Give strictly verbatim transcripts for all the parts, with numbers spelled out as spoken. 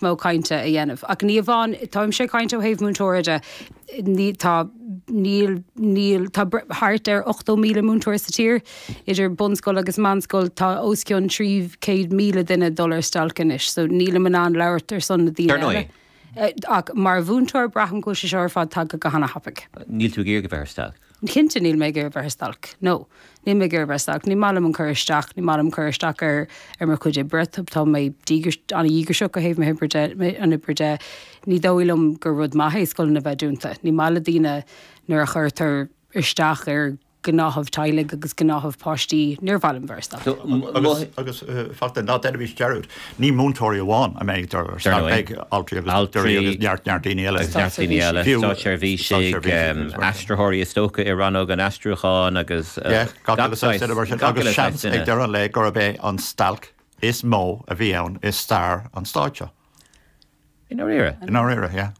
mó cainte a dhéanamh. Ach ní amháin táimse ag caint ó thaobh múinteora de ní tá níl níl tá thart ar ochtó míle múinteoir sa tír idir bunscoil agus meánscoil tá os cionn trí chéad míle duine dul ar stailc anois, so nílim in ann labhairt ar son na daoine Dar ndóigh. eile. Eh, Ach mar mhúinteoir braithim go bhfuil sé seo ar fad tagtha go han-thapaidh. Níl tú ag iarraidh bheith ar stailc. Cinnte níl mé ag iarraidh bheith ar stailc. No, níl mé ag iarraidh bheith ar stailc. Ní maith liom an cur isteach, ní maith liom cur isteach ar ar mo chuid oibre, tá mé an-dhíograiseach ó thaobh mo oibre de an oibre de. Ní dóigh liom gur rud maith é scoileanna bheith dúnta. Ní maith le daoine nuair a chuirtear isteach ar gnáthamh teaghlaigh agus gnáthamh páistí níor mhaith liom bheith ar stailc. So, m- Agus agus fachta ná déanaimis dearúd. Ní múinteoirí amháin a mbeidh ar Dar ndóigh. beidh altraí agus Altraí, dochtúirí agus neart neart daoine eile. agus neart daoine eile, Fiú státseirbhísigh, státseirbhísigh um, aistritheoirí is dócha i rannóg an aistriúcháin agus uh, Yeah, gach gach uile saghas duine mar sin. gach Agus uile saghas seans ag duine. deireadh an lae gurb é an stailc is mó a bhí ann i stair an stáit seo. I ndáiríre. I ndáiríre, yeah.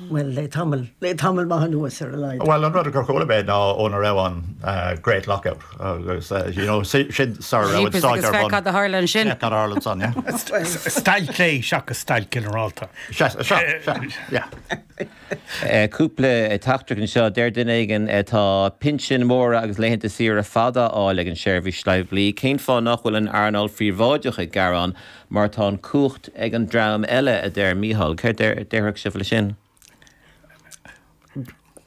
Well le tamall le tamall maith anuas ar a laghad. Well an rud gur chuala mé ná óna raibh an uh, Great Lockout agus uh, you know, sin sar raibh an Jeepers stáit agus ar féach bun. cad a tharla ansin. Yeah, cad a tharla ansan, yeah. Stailc lé seachas stailc ginearálta. Se, se, se, yeah. Eh, Cúpla teachtaireacht anseo deir duine éigin tá pinsin móra agus laethanta saoire fada á fháil ag an seirbhís phoiblí, Cén fáth nach bhfuil an earnáil phríobháideach ag gearán mar tá an cumhacht ag an dream eile a deir Mícheál, Céard déarfadh sibh le sin?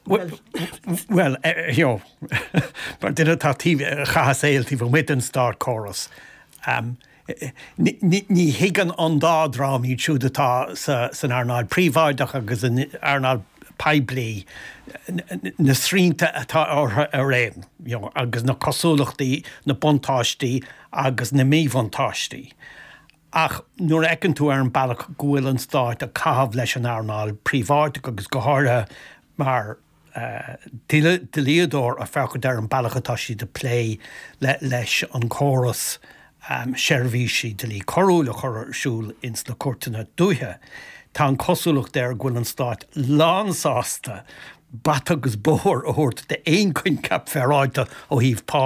Well, eh, jo mar duine atá chaith a shaol taobh amuigh den státchóras. Um, ní ní thuigeann an dá dhream iad siúd atá sa, san earnáil príobháideach agus an earnáil poiblí na srianta atá orthu araon, you know, agus na cosúlachtaí, na buntáistí agus na míbhuntáistí. Ach nuair a fheiceann tú ar an bealach go bhfuil an stát ag caitheamh leis an earnáil príobháideach agus go háirithe mar uh, dlíodóir ag féachaint ar an bealach atá siad ag plé le, leis an córas um, seirbhísí dlí coiriúil a chur ar siúl ins na cúirteanna dúiche. Tá an cosúlacht air go bhfuil an stát lánsásta bata agus bóthar a thabhairt d'aon choincheap féaráilte ó thaobh pá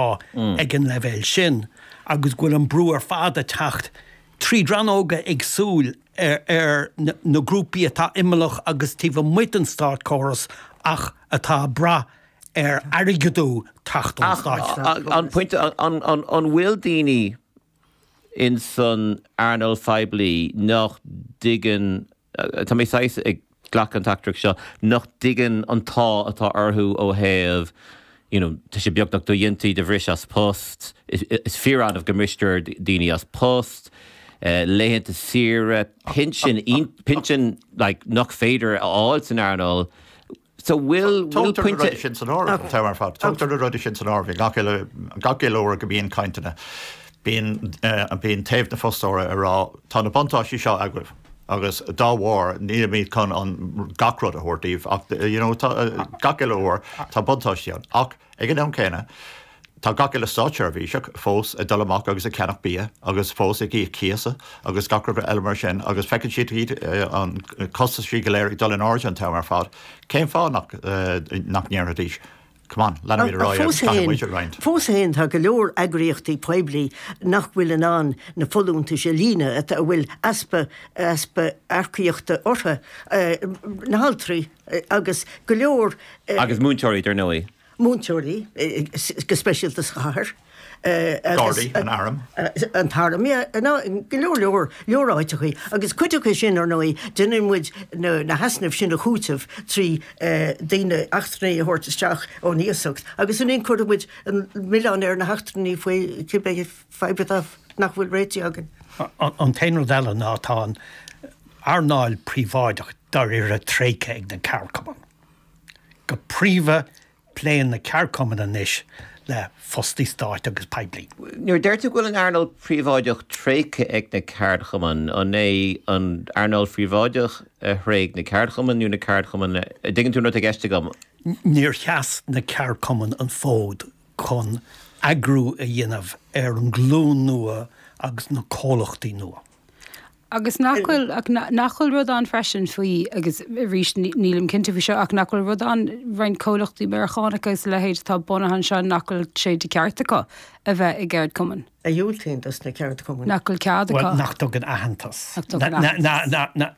ag an leibhéal sin, agus go bhfuil an brú ar fad ag teacht trí rannóga éagsúla ar, ar na, na grúpaí atá imeallach agus taobh amuigh den státchóras ach atá ag brath ar airgead teacht ón stát. An pointe an an an bhfuil daoine in san earnáil phoiblí nach dtuigeann tá mé saghas ag glacadh an teachtaireacht seo nach dtuigeann an t-ádh atá orthu ó thaobh you know, tá sé beagnach dodhéanta do bhris as post, is, is fíor-annamh go mbristear daoine as post, uh, laethanta saoire, pinsin pinsin like, nach féidir a fháil san earnáil. So will will Tógtar na rudaí pointe sin san áireamh an t-am ar fad. Tógtar na rudaí sin san áireamh gach uile gach uile uair go mbíonn cainteanna. Bíonn uh, bíonn taobh na fostóra ag rá tá na buntáistí seo agaibh. agus dá bharr nílimid chun an gach rud a thabhairt daoibh ach you know, tá, uh, gach uile uair tá buntáistí ann. Ach ag an am céanna tá gach uile státseirbhíseach fós ag dul amach agus ag ceannach bia agus fós ag íoc cíosa agus gach rud eile mar sin agus feiceann siad iad uh, an costas go léir ag dul in airde an t-am ar fad. Cén fáth nach uh, nach ndéarfaidís. Come on, leanfaimid ar aghaidh Fós agus caithfidh féin- muid a roinnt. Fós féin tá go leor eagraíochtaí poiblí nach bhfuil in ann na folúntais a líonadh a bhfuil easpa easpa earcaíochta orthu eh, na haltraí eh, agus go leor eh, agus múinteoirí dar ndóigh. múinteoirí eh, eh, go speisialta sa chathair. eh, agus- Gardaí, an arm. Eh, an t-arm ná go leor leor leor áiteachaí agus cuid acu sin ar ndóigh déanann muid na na heasnaimh sin a chúiteamh trí eh, daoine eachtrannaigh a thabhairt isteach ón iasacht agus an chuir muid an milleán ar na heachtrannaigh faoi cibé fadhb atá nach bhfuil réitithe againn. An an t-aon rud eile ná tá an earnáil príobháideach dáiríre tréigthe ag na ceardchumainn. Go príomha pléann na ceardchumainn anois le fostaí stáit agus poiblí. Nuair deir tú go bhfuil an earnáil phríobháideach tréigthe ag na ceardchumainn an é an earnáil phríobháideach a thréig na ceardchumainn nó na ceardchumainn dtuigeann tú rud i gceist agam. Níor sheas na ceardchumainn an fód chun eagrú a dhéanamh ar an nglúin nua agus na comhlachtaí nua. Agus nach bhfuil ach nach bhfuil rud ann freisin faoi agus arís nílim cinnte faoi seo ach nach bhfuil rud ann roinnt comhlachtaí Meiriceánacha is a leithéid atá bunaithe anseo nach bhfuil sé de cheart acu a bheith i gceardchumann. A dhiúltaíonn dos na ceardchumainn. Nach bhfuil cead acu. Bhuel, nach dtugann aitheantas. Nach dtugann aitheantas.